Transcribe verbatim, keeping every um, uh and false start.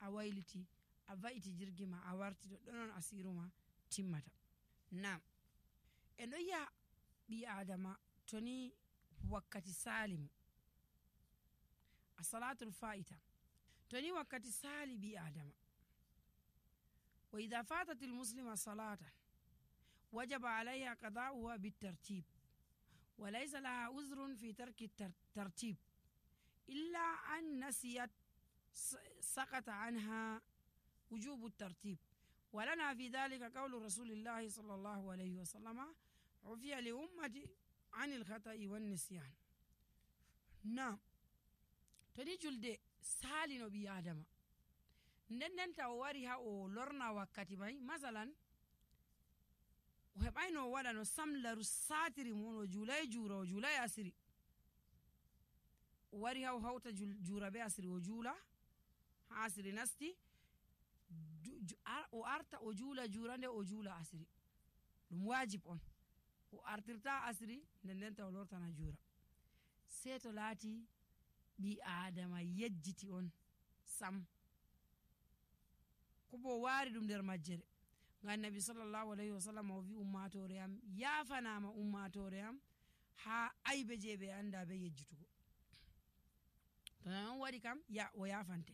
a wayliti a va'iti jirgi ma a warti ɗo ɗonon asiru ma timmata. Nam en ɗo yi'a ɓi adama toni wakkati salimu as-salatul fa'ita toni wakkati sali ɓi adama wa idha fatatil muslima salatan wajaba alayha qada'uha bitartib wa laysa laha uzrun fi tarki tartib illa an nasiyat سقط عنها وجوب الترتيب ولنا في ذلك قول رسول الله صلى الله عليه وسلم عفي لأمتي عن الخطأ والنسيان. نعم toni julde salino ɓi adama nden nden ta o wari ha o lorna wakkati mai masalan o heɓayno o waɗa no samlaru satiri mon o julai jura o julai asiri o wari ha o hawta jura be asiri o jula ha asiri nasti o arta o jula jura nde o jula asiri ɗum wajib on o artirta asiri nden nden ta o lortana jura sei to laati ɓi adama yejjiti on sam ko bo wari ɗum nder majjere ngam nabi sallallahu alayhi wa sallam o wi ummatore am yafanama ummatore am ha aybe je ɓe anda be yejjitugo to non waɗi kam ya o yafante